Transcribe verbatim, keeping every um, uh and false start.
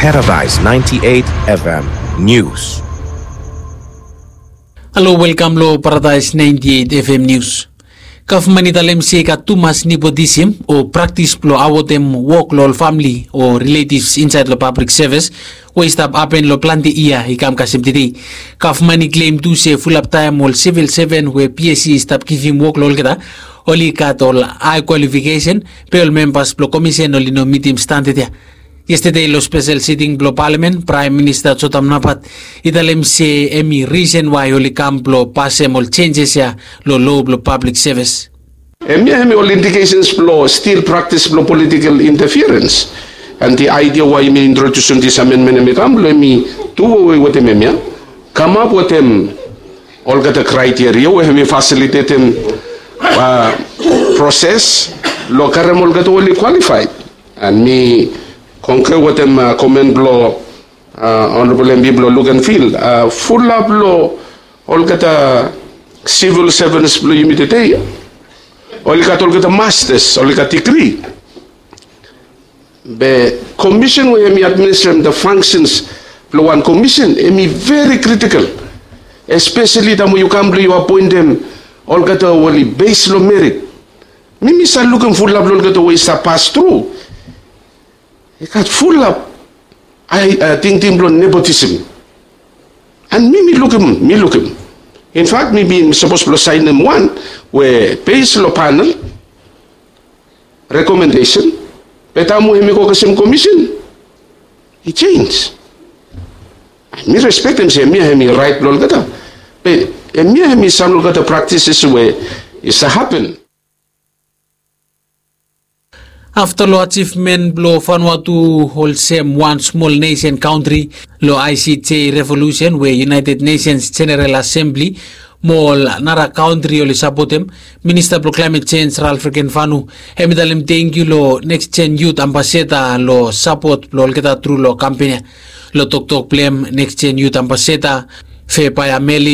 Paradise ninety-eight F M News. Halo, welkam lo Paradise ninety-eight F M News. Gavman i talem se i gat tumas nepotism o praktis blo awotem wok lo ol famili o riletivs insaed lo pablik sevis we i stap hapen lo plante yia i kam kasem tede. Gavman i klem tu se fulap taem ol sivil seven we P S C i stap givim wok lo olgeta oli gat ol hae kwalifikesen, be ol membas blo komisen oli no mitim standad ya. Yestade lo spesel siting blo palamen, Praem Minista Jotam Napat i talem se hemi risen wae oli kam blo pasem ol jenjes ya lo loa blo pablik sevis. Hemia hemi ol indikesens blo stil praktis blo politikel intafiarens. And the idea wae yumi introdusim this amendment hemi kam blo hemi tu wewe wetem hemia, kamap wetem olgeta kraiteria we hemi fasilitetem proses lo karem olgeta we oli kwalifaed. And mi kongre wetem komen blo Honorable M P blo Luganville, fulap lo olgeta sivil sevens blo yumi tede oli gat olgeta mastas, oli gat digri. Be komisen we hemi administrem the functions blo wan komisen hemi veri kritikel, espeseli taem we yu kam blo yu apoentem olgeta we oli bes lo merit. Mi mi save lukim fulap lo olgeta we i save pas tru i gat fulap tingting blo nepotism. And mi mi lukim, mi lukim, infak mi bin sapos blo saenem wan we bes lo panel rekomendesen, be taem we hemi go kasem komisen i jenj. Mi respektem se hemia hemi raet blo olgeta, be hemia hemi sam olgeta praktises we i save hapen. Afta lo ajivmen blo Vanuatu olsem wan smol nesen kantri lo I C J revolusen we United Nations General Assembly mo ol nara kantri oli sapotem, Minista blo Klaemet Jenj Ralph Regenvanu hemi talem tangkiu lo Next Gen Youth Ambassador lo sapot blo olgeta tru lo kampen ya. Lo toktok blo hem, Next Gen Youth Ambassador Vebiah Mele